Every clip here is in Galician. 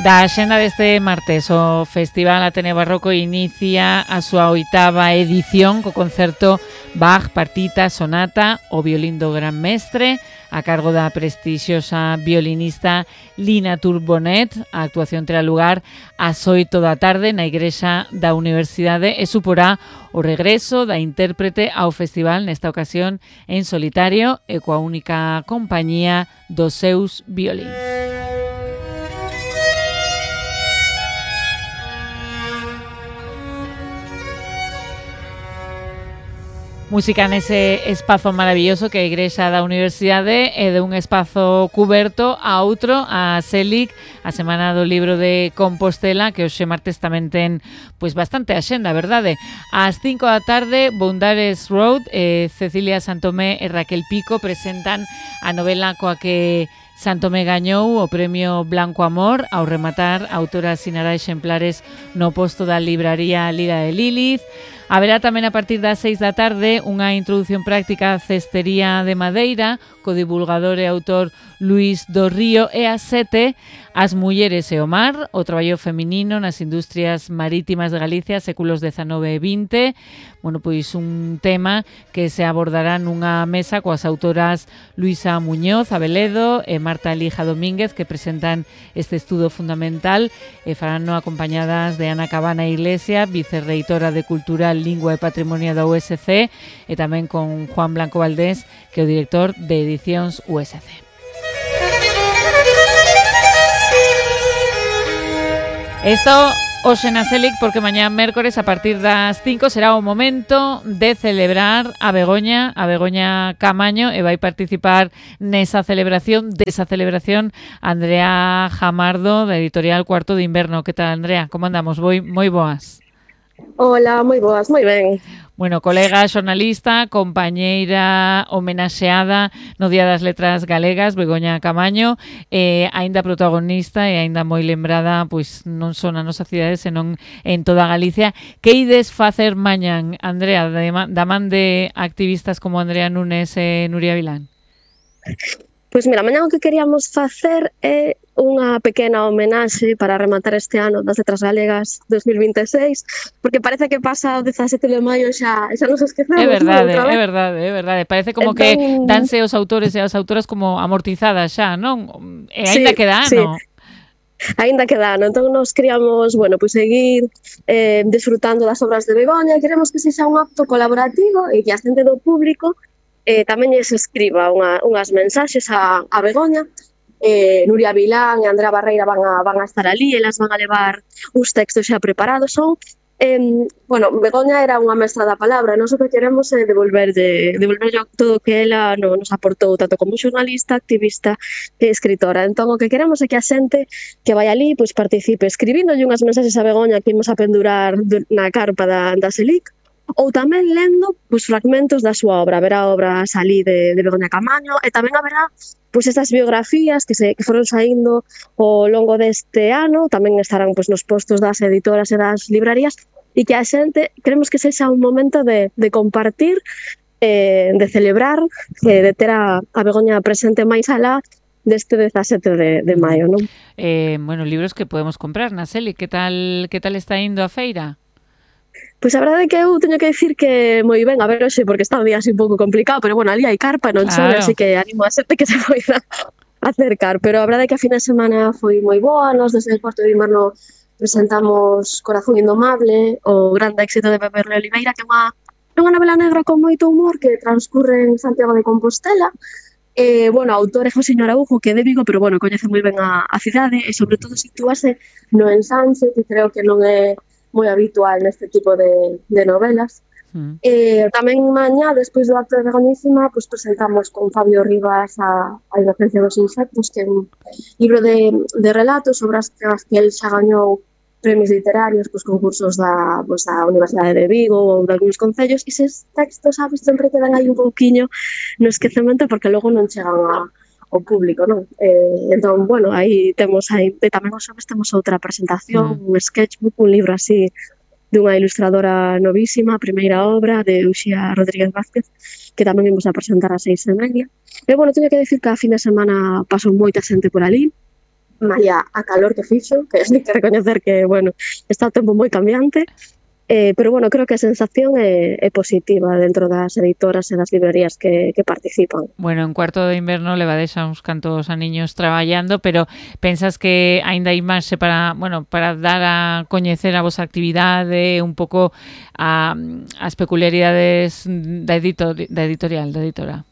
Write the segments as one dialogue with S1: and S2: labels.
S1: Da axenda deste martes, o Festival Ateneo Barroco inicia a súa 8ª edición co concerto Bach, Partita, Sonata, o violín do Gran Mestre, a cargo da prestixiosa violinista Lina Turbonet. A actuación terá lugar ás 8 da tarde na Igrexa da Universidade e suporá o regreso da intérprete ao festival, nesta ocasión en solitario e coa única compañía dos seus violíns. Música nese espazo maravilloso que é a Igrexa da Universidade e de un espazo cuberto a outro, a CELIC, a Semana do Libro de Compostela, que hoxe martes tamén ten pois bastante axenda, verdade? Ás 5 da tarde, Boundaries Road, Cecilia Santomé e Raquel Pico presentan a novela coa que Santomé gañou o Premio Blanco Amor. Ao rematar, a autora asinará exemplares no posto da libraría Lira de Lilith. Haberá tamén a partir das 6 da tarde unha introducción práctica á cestería de madeira co divulgador e autor Luís do Río, e ás 7 as mulleres e o mar, o traballo feminino nas industrias marítimas de Galicia, séculos XIX e XX. Bueno, pois un tema que se abordará nunha mesa coas autoras Luisa Muñoz Abeledo e Marta Elija Domínguez, que presentan este estudo fundamental e farano acompañadas de Ana Cabana Iglesia, vicerreitora de Cultura, Lingua e Patrimonio da USC, e tamén con Juan Blanco Valdés, que é o director de Edicións USC. Esto hoxe na CELIC, porque mañá mércores a partir das 5 será o momento de celebrar a Begoña Camaño, e vai participar nesa celebración, Andrea Jamardo, da editorial Cuarto de Inverno. Que tal, Andrea? Como andamos? Moi boas.
S2: Hola, moi boas, moi ben.
S1: Bueno, colega xornalista, compañeira homenaxeada no Día das Letras Galegas, Begoña Camaño, aínda protagonista e aínda moi lembrada, pois non só na nosa cidade, senón en toda Galicia. Que ides facer mañán, Andrea, da man de activistas como Andrea Núñez e Nuria Vilán?
S2: Pois mira, mañá o que queríamos facer é unha pequena homenaxe para rematar este ano das Letras Galegas 2026, porque parece que pasa o 17 de maio xa nos esquecemos.
S1: É verdade. Parece como entón, que danse os autores e as autoras como amortizadas xa, non? E aínda queda ano. Sí.
S2: Aínda queda ano, entón nos queríamos, bueno, pois seguir desfrutando das obras de Begoña. Queremos que sexa un acto colaborativo e que a xente do público tamén se escriba unhas mensaxes a Begoña. Nuria Vilán e Andrea Barreira van a estar ali, elas van a levar uns textos xa preparados. Bueno, Begoña era unha mestra da palabra, e nós o que queremos é devolverlle todo que ela nos aportou, tanto como xornalista, activista e escritora. Entón, o que queremos é que a xente que vai ali pois participe escribíndolle unhas mensaxes a Begoña que imos a pendurar na carpa da CELIC, ou tamén lendo pois fragmentos da súa obra. Haberá obras ali de Begoña Camaño, e tamén haberá pois estas biografías que foron saindo ao longo deste ano, tamén estarán pois nos postos das editoras e das librarías, e que a xente queremos que sexa un momento de compartir, de celebrar, de ter a Begoña presente máis alá deste 17 de maio, non?
S1: Bueno, libros que podemos comprar na CELIC. Que tal está indo a feira?
S2: Pois a verdade é que eu teño que dicir que moi ben, a ver hoxe, porque está o día así un pouco complicado, pero bueno, ali hai carpa, non chove, así que animo a xente que se poida acercar. Pero a verdade é que a fin de semana foi moi boa. Nos desde el Cuarto de Inverno presentamos Corazón Indomable, o grande éxito de Pepe Oliveira, que é unha novela negra con moito humor que transcurre en Santiago de Compostela. Bueno, o autor é José Araujo, que é de Vigo, pero bueno, coñece moi ben a cidade, e sobre todo sitúase no ensanche, que creo que non é moi habitual neste tipo de novelas. Tamén mañá, despois do acto de Begoñísima, pues presentamos con Fabio Rivas a Inocencia dos Insectos, que é un libro de relatos sobre as que el xa gañou premios literarios, pues concursos da Universidade de Vigo ou de algúns concellos, e eses textos, sabes, sempre quedan aí un pouquiño no esquecemento porque logo non chegan ao público, non? Entón, bueno, aí temos tamén os xoves temos outra presentación, un sketchbook, un libro así dunha ilustradora novísima, a primeira obra de Uxía Rodríguez Vázquez, que tamén imos a presentar ás 6:30. E, bueno, teño que dicir que a fin de semana pasou moita xente por ali, malia a calor que fixo, que hai que recoñecer que, bueno, está o tempo moi cambiante, pero, bueno, creo que a sensación é positiva dentro das editoras e das librerías que participan.
S1: Bueno, en Cuarto de Inverno levades a uns cantos aniños traballando, pero pensas que aínda hai marxe para dar a coñecer a vosa actividade, un pouco as peculiaridades da editora?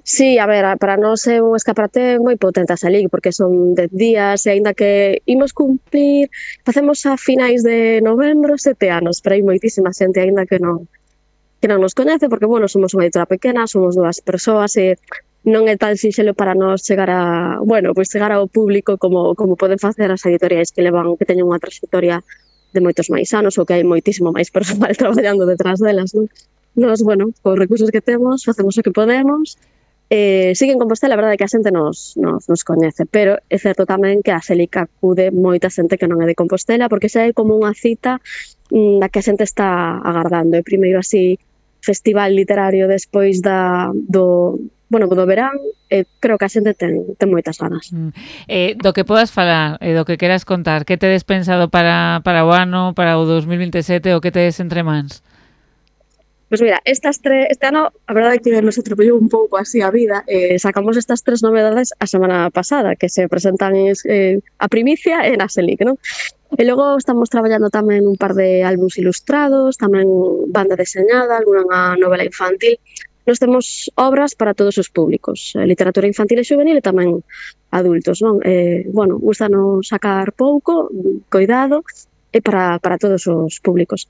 S2: Sí, a ver, para nós é un escaparate moi potente a Selig, porque son 10 días, e aínda que imos cumplir, facemos a finais de novembro 7 anos, pero hai moitísima xente aínda que non nos coñece, porque, bueno, somos unha editora pequena, somos 2 persoas, e non é tan sinxelo para nós chegar ao público como poden facer as editoriais que teñen unha trayectoria de moitos máis anos, ou que hai moitísimo máis persoal traballando detrás delas, non? Nos, bueno, cos recursos que temos, facemos o que podemos. Sí que en Compostela, a verdade é que a xente nos coñece, pero é certo tamén que a Selig acude moita xente que non é de Compostela, porque xa é como unha cita da que a xente está agardando. É primeiro así festival literario despois do verán, creo que a xente ten moitas ganas.
S1: Do que podas falar, do que queras contar, que tedes pensado para o ano, para o 2027, o que tedes entre mans?
S2: Pois mira, este ano, a verdade é que nos atropellou un pouco así a vida. Sacamos estas 3 novedades a semana pasada, que se presentan a primicia e na Selig, non? E logo estamos traballando tamén un par de álbuns ilustrados, tamén banda deseñada, alguna novela infantil. Nos temos obras para todos os públicos, literatura infantil e juvenil e tamén adultos, non? Gustanos sacar pouco, coidado, e para todos os públicos.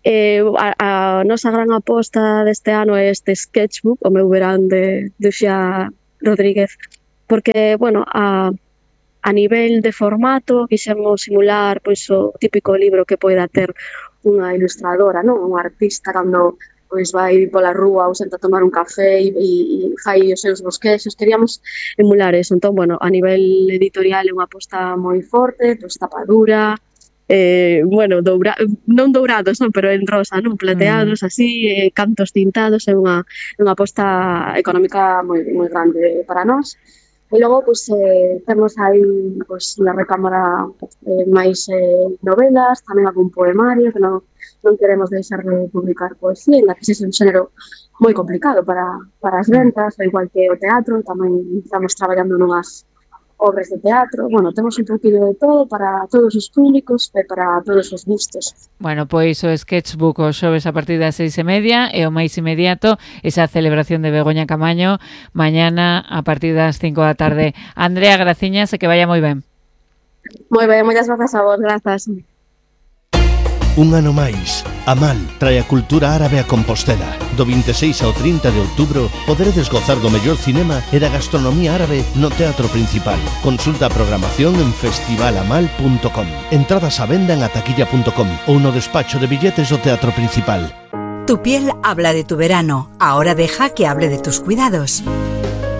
S2: A nosa gran aposta deste ano é este sketchbook, o meu verán de Uxía Rodríguez, porque, bueno, a nivel de formato quixemos simular pois o típico libro que poida ter unha ilustradora, non? Un artista cando pois vai pola rúa ou senta a tomar un café e fai os seus bosquexos. Queríamos emular eso. Entón, bueno, a nivel editorial é unha aposta moi forte, pois tapadura, non dourados, non, pero en rosa, non, plateados, así, cantos tintados, é unha aposta económica moi grande para nós. E logo, pois, temos aí na recámara máis novelas, tamén algún poemario, que non queremos deixar de publicar poesía, en que sexa un xénero moi complicado para as ventas, igual que o teatro, tamén estamos traballando nunhas obras de teatro. Bueno, temos un poquillo de todo para todos os públicos e para todos os gustos.
S1: Bueno, pois o sketchbook o xoves a partir das 6:30 e o máis inmediato esa celebración de Begoña Camaño mañana a partir das 5 da tarde. Andrea, graciñas e que vaya moi ben.
S2: Moi ben, moitas grazas a vos, grazas.
S3: Un ano máis, Amal trae a cultura árabe a Compostela. Do 26 ao 30 de outubro poderedes gozar do mellor cinema e da gastronomía árabe no Teatro Principal. Consulta a programación en festivalamal.com. Entradas á venda en ataquilla.com ou no despacho de billetes do Teatro Principal.
S4: Tu piel habla de tu verano, ahora deja que hable de tus cuidados.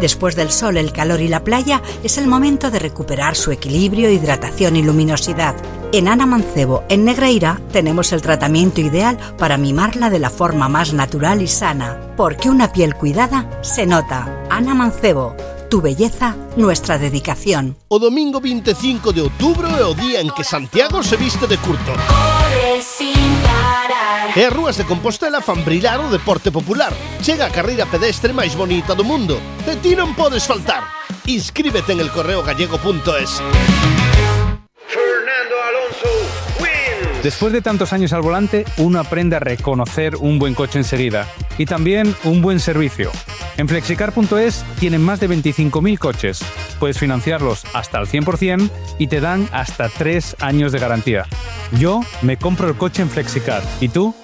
S4: Después del sol, el calor y la playa, es el momento de recuperar su equilibrio, hidratación y luminosidad. En Ana Mancebo, en Negreira, tenemos el tratamiento ideal para mimarla de la forma más natural y sana. Porque una piel cuidada se nota. Ana Mancebo, tu belleza, nuestra dedicación.
S3: O domingo 25 de outubro é o día en que Santiago se viste de curto. E as rúas de Compostela fan brillar o deporte popular. Chega a carreira pedestre máis bonita do mundo. De ti non podes faltar. Inscríbete en elcorreogallego.es.
S5: Fernando Alonso wins.
S6: Después de tantos años al volante, uno aprende a reconocer un buen coche enseguida y también un buen servicio. En Flexicar.es tienen más de 25.000 coches. Puedes financiarlos hasta el 100% y te dan hasta 3 años de garantía. Yo me compro el coche en Flexicar. ¿Y tú?